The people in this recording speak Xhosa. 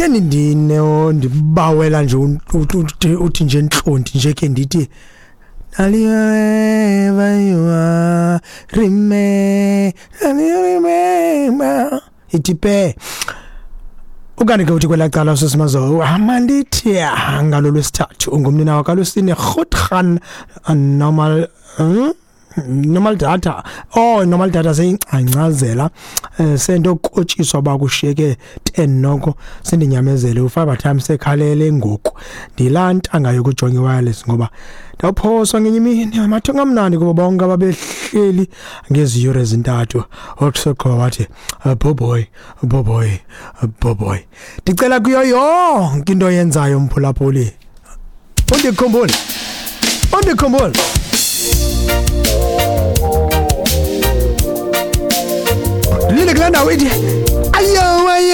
Kutheni ndine ndibawela nje uthi nje ntlonti nje ke ndithi remember ithi pe. Ukanti ke uthi kwelaa cala usisimazo amandithi ngalo lwesithathu ungumnina wakalusine rhutran normal, Normal data, oh, normal data seyingcangcazela, sento kotshiswa ba kushiyeke 10 noko sendinyamezele ufiber time sekhalele ngoku. Ndilaa ntanga yokujonga i-wireless ngoba ndawuphoswa ngenye imini amathongo amnandi kubo bonke ababehleli ngezi yure ezintathu. Wakusoqhoba wathi boboy boboy boboy. Ndicela kuyo yonke into oyenzayo mphulaphuli undikhumbule, undikhumbule. Ndilinde kulaa ndawo ithi